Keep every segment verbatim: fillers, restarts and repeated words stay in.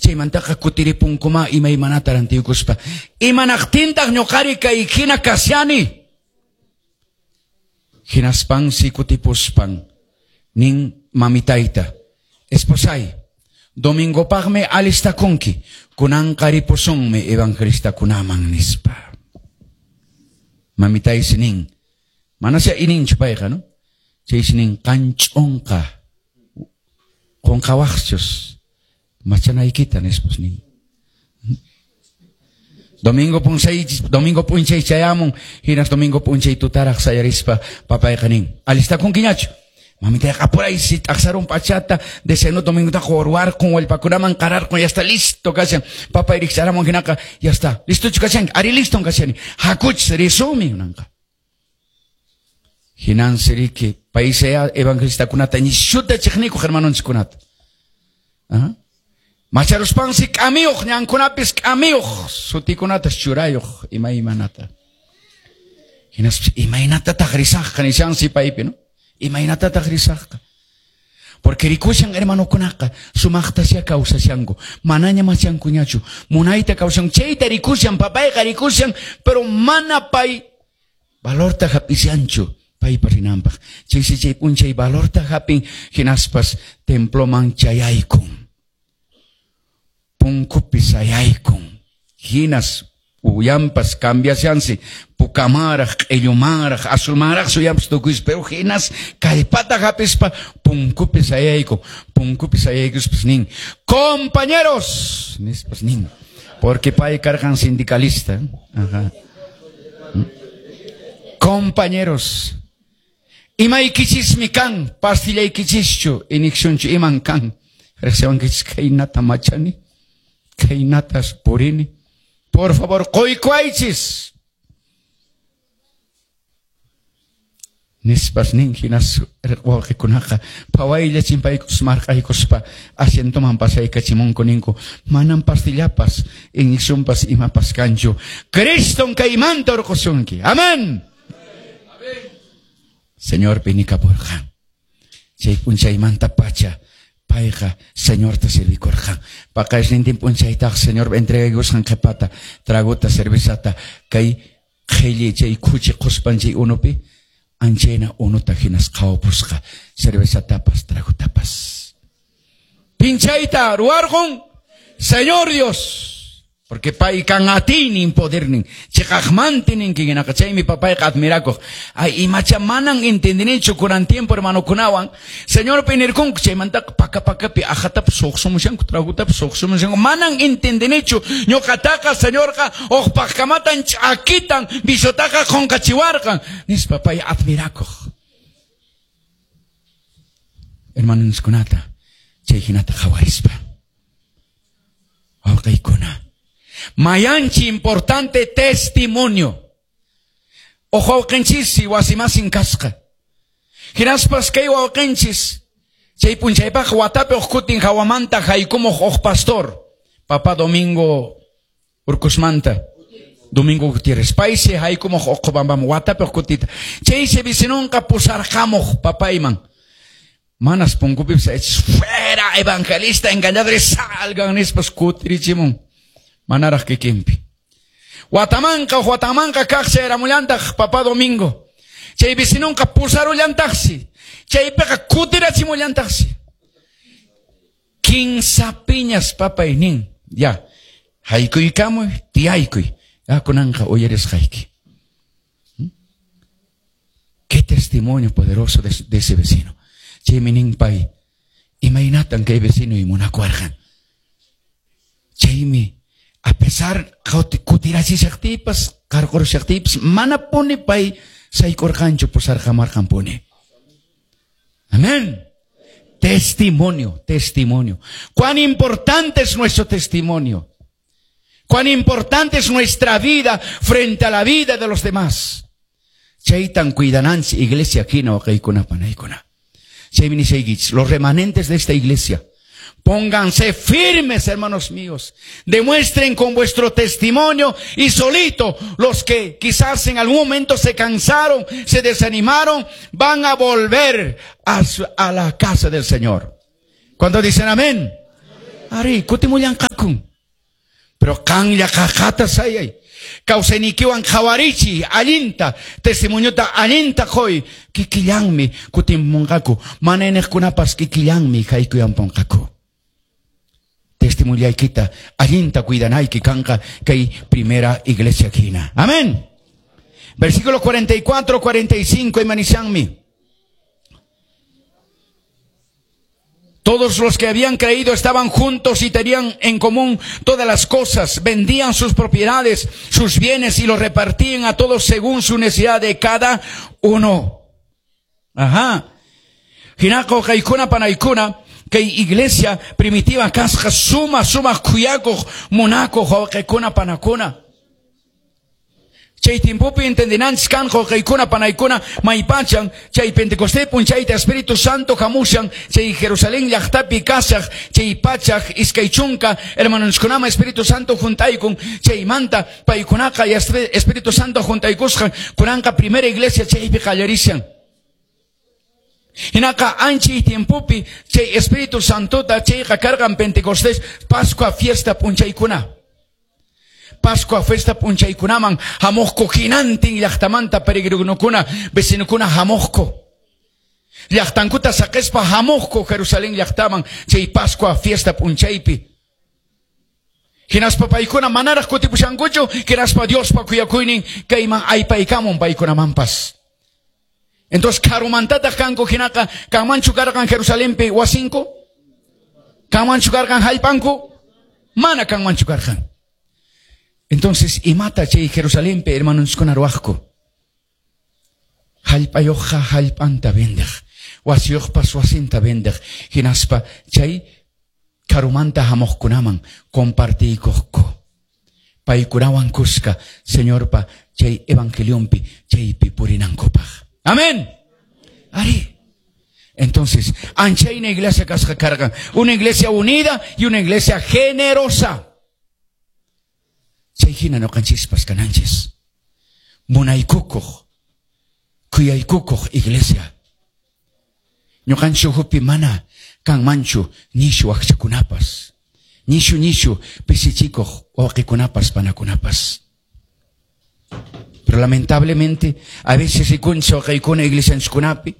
Chaymantaqa kutiripunkuma imaymanata rantiykuspa. Imanaqtintaq ñuqari kay hina kashani. Hinaspansi kutipuspan nin mamitayta. Esposay, domingopaqmi alistakunki. Kunanqa ripusunmi evangelistakunaman nispa. Mamitaysi nin. Manasya ininchu payqa, no? Chaysi nin qanch'unqa qunqawaqchus machanaykita nispas nin. Domingo p'unchay, domingo p'unchay chayamun, hinas domingo p'unchay tutaraq sayarispa papayqa nin. Alistakunkiñachu? Mamitayqa apuraysi t'aqsarun p'achata, desayuno domingotaqa urwarqun, wallpakunaman qararqun, ya está listo kashan. Papay rikch'aramun hinaqa, ya está. Listochu kashanki? Ari liston kashani. Hakuchis risunmi kunanqa. Hinansi riki, paysaya evangelistakunata nishuta chiqnikuq hermanonchikkunata. Aha. Macharuspansi k'amiyuq, ñankunapis k'amiyuq, sutikunatas churayuq imaymanata. Hinaspas imaynatataq risaqqa nishansi paypi, no? Imaynatataq risaqqa. Porque rikushan hermanokunaqa sumaqtasya kawsashanku, manaña machankuñachu, munayta kawshan, chayta rikushan, papayqa rikushan, pero mana pay valorta hap'ishanchu paypa rinanpaq. Chaysi chay p'unchay valorta hap'in, hinaspas temploman chayaykun. Punkupi sayaykun. Hinas uyampas cambiashansi, pukamaraq, q'illumaraq, azulmaraq suyampas tukuysi, pero hinas kallpata hap'ispa punkupi sayaykun. Punkupi sayaykuspas nin, compañeros, nispas nin, porque pay karqan sindicalista. Ajá. Compañeros, imaykichismi kan, pastillaykichischu, inyeccionchu iman kan. Riqsiwankichis khaynata machani, khaynatas purini. Por favor, qoykuaychis. Nispas nin hinas wawqikunaqa phawaylla chimpaykus marqaykuspa asientoman pasaykachimunku ninku manan pastillapas inyeccionpas imapas kanchu. Criston kaymanta urqusunki. Amén. Señor pinikapurqan. Chay p'unchaymanta pacha payqa Señorta servikurqan. Paqarisnintin p'unchaytaq Señor entregaykusqan qhipata tragota cervezata kay qhilli chay khuchi quspan chay unupi anchayna unuta hinas qhawapusqa cervezatapas tragotapas. Pinchayta ruwarqun Señor Dios. Porque pay kan atiynin podernin chiqaqmanti ninki hinaqa chaymi papayqa admirakuq. Ay imacha manan entendinichu kunan tiempo hermanokunawan Señorpi nirkunku chaymantaqa paka pakapi ajatapas suqsumushanku tragutapas suqsumushanku manan entendinichu ñuqataqa Señorqa uqpaqkamatan ch'akitan bisotaqa qunqachiwarqan nispa pay admirakuq. Hermanonskunata chay hinata qhawarispa wawqiykuna. Mayanchi importante testimonio. Ojo wawqinchis wasimasin kasqa. Hinaspas kay wawqinchis chay p'unchaypaq watapi uqkutin hawamanta haykumuq uq pastor. Papá Domingo Urcusmanta. Domingo Gutiérrez. Paysi haykumuq uqbambam watapi uqkutita. Chaysi vecinonqa pusarqamuq papayman. Manas punkupipis fuera evangelista engañadores salgan nispas kutirichimun. Manaraq kikinpi. Watamanqa watamanqa kaq chayramullantaq papá Domingo. Chay vecinonqa pusarullantaqsi. Chaypiqa kutirachimullantaqsi. Kinsa piñas papay nin. Ya. Haykuykamuy, tiyaykuy. Ya kunanqa uyarisqayki. Qué testimonio poderoso de, de ese vecino. Chaymi nin pay. Imaynatan kay vecino imunakuarqan. Chaymi a pesar kutirachishaqtipas, qarqurushaqtipas, mana puni pay saykurqanchu pusarqamarqanpuni. Amén. Testimonio, testimonio. Cuán importante es nuestro testimonio. Cuán importante es nuestra vida frente a la vida de los demás. Chaytan cuidananchis iglesia hina waqaykuna panaykuna. Chaymi nisaykichis, los remanentes de esta iglesia, pónganse firmes, hermanos míos. Demuestren con vuestro testimonio y solito los que quizás en algún momento se cansaron, se desanimaron, van a volver a, su, a la casa del Señor. ¿Cuántos dicen amén? Ari, kutimullanqaku Munakun. Pero qanlla qaqata sayay. Kawsaynikiwan qhawarichi allinta, testimoniota allinta qoy, kikillanmi kutimpunqaku, mana iniqkunapas kikillanmi haykuyampunqaku. Testimoniaykita allinta cuidanayki kanqa kay primera iglesia hina. Amén. Versículo cuarenta y cuatro, cuarenta y cinco, imanishanmi. Todos los que habían creído estaban juntos y tenían en común todas las cosas. Vendían sus propiedades, sus bienes y los repartían a todos según su necesidad de cada uno. Ajá. Hinako kaikuna panaikuna, que iglesia primitiva kasqa suma suma kuyakuq munakuq wawqikuna panakuna. Chay tiempopi entendinanchis kanqa wawqikuna panaykuna maypachan chay Pentecostés punchayta Espíritu Santo hamushan chay Jerusalén llaqtapi kasaq chay pachaq iskay chunka hermanoskunama Espíritu Santo juntaykun chaymanta paykunaqa Espíritu Santo juntaykusqan kunanqa primera iglesia chaypi qallarishan. Hinaqa anchi tiempopi chay Espíritu Santota chayqa karqan Pentecostés Pascua fiesta punchaykuna. Pascua fiesta punchaykunaman hamuqku hinantin llaqtamanta peregrinokuna vecinokuna hamuqku. Llaqtankuta saqispa hamuqku Jerusalén llaqtaman chay Pascua fiesta punchaypi. Hinaspa paykuna manaraq kutipushankuchu hinaspa Diospa kuyakuynin kayman aypaykamun paykunamanpas. Entonces karumantataq kanku hinaqa kanmanchu karqan Jerusalenpi wasinku? Kanmanchu karqan hallpanku? Mana kanmanchu karqan. Entonces, imata chay Jerusalenpi hermanoskuna ruwaqku. Hallpayuqqa hallpanta vendeq, wasiyuqpas wasinta vendeq, hinaspa chay karumanta hamuqkunaman compartiykuqku. Paykunawan kuska Señorpa chay evangelionpi chaypi purinankupaq. Amén. Ari. Entonces, anchayna iglesia kasqa karqan, una iglesia unida y una iglesia generosa. Chay hina ñuqanchispas kananchis. Munaykukuq, kuyaykukuq iglesia. Ñuqanchis ukhupi mana kanmanchu nishu waqchakunapas, nishu nishu pisichikuq wawqikunapas panakunapas. Pero lamentablemente, a veces rikunchis wawqaykuna iglesianchikunapi,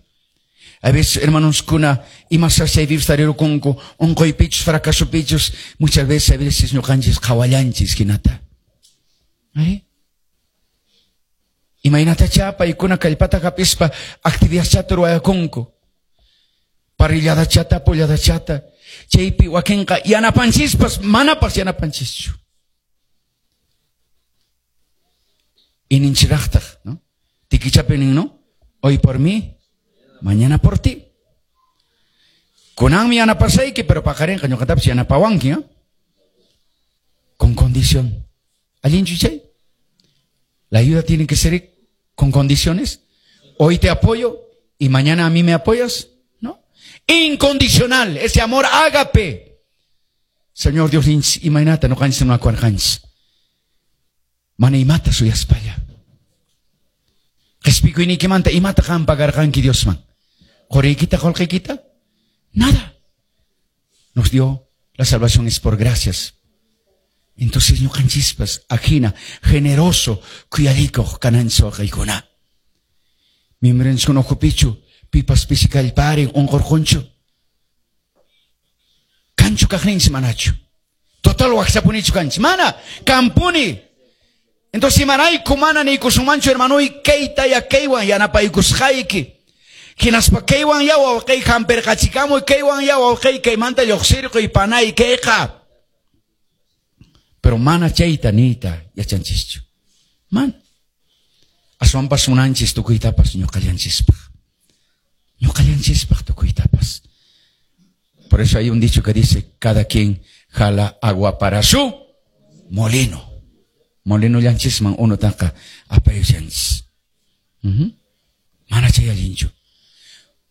a veces hermanoskuna imasashay vivstarirukunku, unquypichus, fracasopichus, muchas veces a veces ñuqanchis qhawallanchis hinata. ¿Eh? Imaynatacha paykuna kallpata hapispa actividadchata ruwayakunku. Parrilladachata, polladachata, chaypi wakinqa yanapanchispas manapas yanapanchischu. Ininchiraqtaq, ¿no? Tikichapi nin, ¿no? Hoy por mí, mañana por ti. Kunanmi yanapasayki, pero paqarinqa ñuqatapas yanapawanki, ¿no? Con condición. ¿Allinchu chay? La ayuda tiene que ser con condiciones. Hoy te apoyo y mañana a mí me apoyas, ¿no? Incondicional, ese amor ágape. Señor Dios, imaynata ñuqanchis munakuwarqanchis. Mana imata suyaspalla. Qhispikuyniykimanta imata qan pagarqanki Diosman. Quriykita, qullqiykita? Nada. Nos dio la salvación es por gracias. Entonces ñuqanchispas ajina generoso kuyalikuq kananchis wawqiykuna. Miembronchiskuna ukhupichu pipas pisikallparin unqurqunchu. Kanchu kaqninchis manachu. Total waqchapunichu kanchis. Mana kampuni. Entonces imarayku mana niykusunmanchu hermanuy kayta ya kaywan yanapaykusqayki. Hinaspa kaywan ya wawqiy hampirqachikamuy kaywan ya wawqiy kaymanta lluqsirquy panay kayqa. Pero mana chayta niyta yachanchischu. Man. Aswanpas munanchis tukuytapas ñuqallanchispaq. Ñuqallanchispaq tukuytapas. Por eso hay un dicho que dice, cada quien jala agua para su molino. Molino llanchisman unutaqa apayushanchis. Uh-huh. Mana chay allinchu.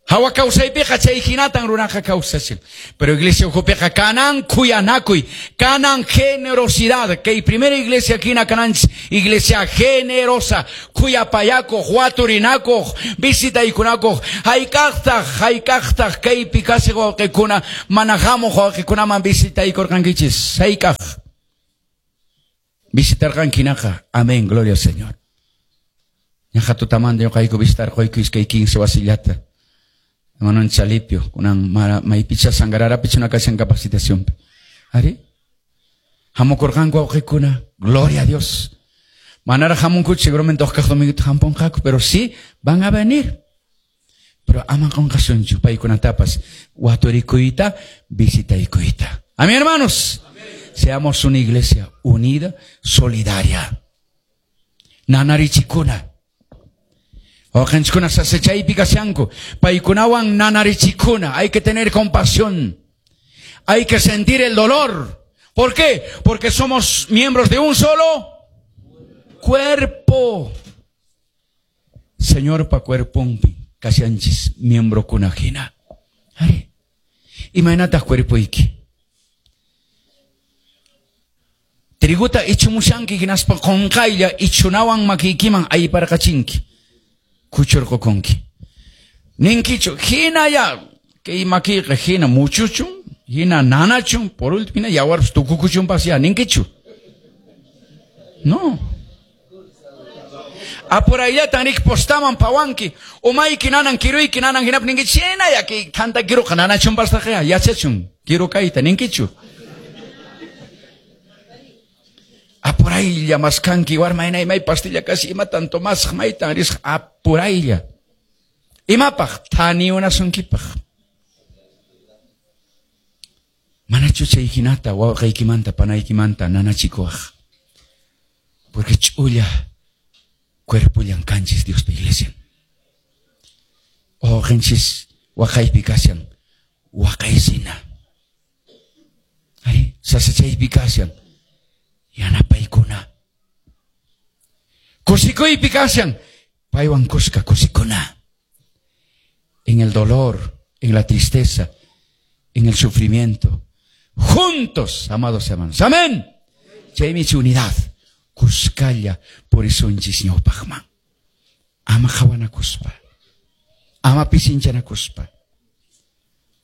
Hawa kawsaypiqa chay hinatan runaqa kawsashan. Pero iglesia ukhupiqa kanan kuyanakuy, kanan generosidad. Kay primera iglesia hina kananchis, iglesia generosa, kuyapayakuq, waturinakuq, visitaykunakuq, hayk'aqtaq, hayk'aqtaq kaypi kasiq wawqikuna, mana hamuq wawqikunaman visitaykurqankichis, hayk'aq. Visitarqanki hinaqa. Amén, gloria al Señor. Ñaqa tutamanta ñuqayku visitarquyku iskay quince wasillata. Hermano Chalipio, kunan maypicha Sangararapi chuna kashan capacitacionpi. Ari? Hamukurqanku wawqikuna, gloria a Dios. Manara hamunkuchu seguramente huk domingo hampunqaku, pero sí van a venir. Pero ama qunqasunchu paykunatapas waturikuyta, visitaykuyta. Amén, hermanos. Amén. Seamos una iglesia unida, solidaria. Nanarichikuna. Wawqinchikkuna sasachaypi kashanku. Paykunawan nanarichikuna. Hay que tener compasión. Hay que sentir el dolor. ¿Por qué? Porque somos miembros de un solo cuerpo. Señorpa cuerponpi kashanchis miembrokuna hina. Ari. Imaynataq cuerpoyki. Triguta ichumushanki hinaspa qunqaylla ichunawan makiykiman ayparqachinki. Kuchurqukunki. Ninkichu hinaya kay makiyqa hina muchuchun, hina nanachun, por último hina yawarpas tukukuchunpas ya ninkichu. No. Apurayllatan rik postaman pawanki, umayki nanan kiruyki nanan hinap ninkichu, hinaya kay thanta kiruqa nanachunpastaqa ya yachachun kiru kayta ninkichu. Apuraylla maskanki warma may pastilla kasi imatan tomasaq maytan risaq apuraylla. Imapaq thaniunasunkipaq. Manachu chay hinata wawqiykimanta panaykimanta nanachikuwaq. Porque ch'ulla cuerpullan kanchis Diospa iglesia. Wawqinchis waqaypi kashan waqaysina. Ari sasachaypi kashan yanapaykuna. Kusikuypi kashan paywan kuska kusikuna. En el dolor, en la tristeza, en el sufrimiento. Juntos, amados hermanos. Amén. Chaymi unidad. Kuskalla purisunchis ñawpaqman. Ama qhawanakuspa. Ama pisinchanakuspa.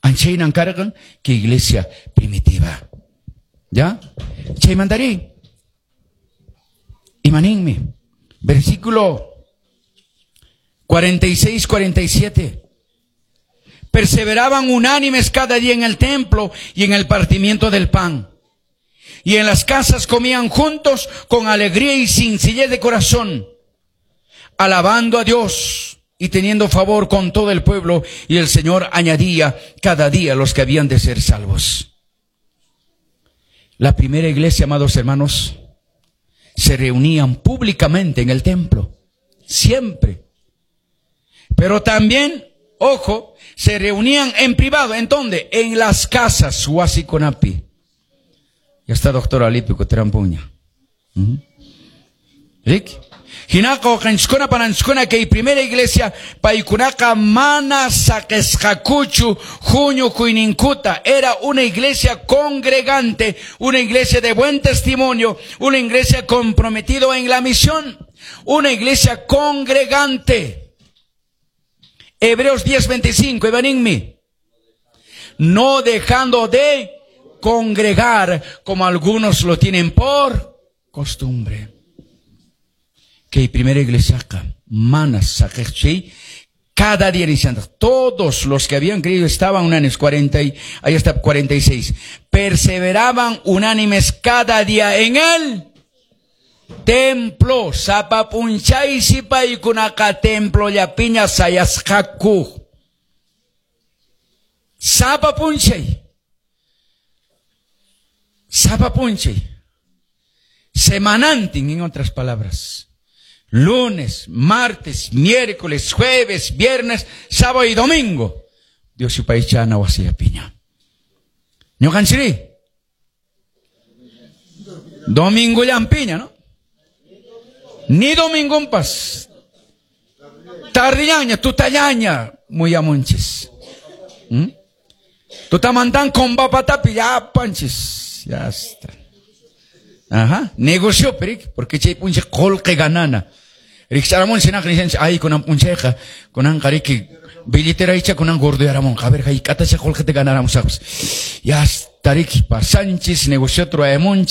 Anchaynan karqan que iglesia primitiva. ¿Ya? Chaymantari. Imaninmi. Versículo cuarenta y seis, cuarenta y siete. Perseveraban unánimes cada día en el templo y en el partimiento del pan. Y en las casas comían juntos con alegría y sencillez de corazón, alabando a Dios y teniendo favor con todo el pueblo. Y el Señor añadía cada día los que habían de ser salvos. La primera iglesia, amados hermanos, se reunían públicamente en el templo, siempre. Pero también, ojo, se reunían en privado. ¿En dónde? En las casas, wasikunapi. Ya está doctor Alipio Trampuña. Uh-huh. Rick. Hinaqa waqanchiskuna pananchiskuna kay primera iglesia paykunaqa mana saqisqakuchu huñukuyninkuta. Era una iglesia congregante, una iglesia de buen testimonio, una iglesia comprometida en la misión, una iglesia congregante. Hebreos diez veinticinco, Evaninmi. No dejando de congregar como algunos lo tienen por costumbre. Que primera iglesia mana saqeqchi cada día iniciando. Todos los que habían creído estaban unánimes, cuarenta y, ahí está cuarenta y seis. Perseveraban unánimes cada día en el templo. Sapa punchaysi paykunaqa templo llapiña sayasqaku. Sapa punchay. Sapa punchay. Semanantin, en otras palabras. Lunes, martes, miércoles, jueves, viernes, sábado y domingo. Dios yupaychana wasillapiña. Ñuqanchiri. Domingo llampiña, ¿no? Ni domingo pas. Tardiñaña, tutallaña, muyamunchis. ¿Mm? Tutamantan con papatapi, ya panchis. Ya está. Ajá. Negocio, perik, porque chay punche qolqe ganana. Rikcharamun sinaq nishanchik, ay kunan punchayqa, kunan qariki billetera icha kunan gordoyaramun, a ver, hayk'atacha qolqeta ganaramusaqpas. Ya está, riki, pasanchis, negocio ruwayamunchis.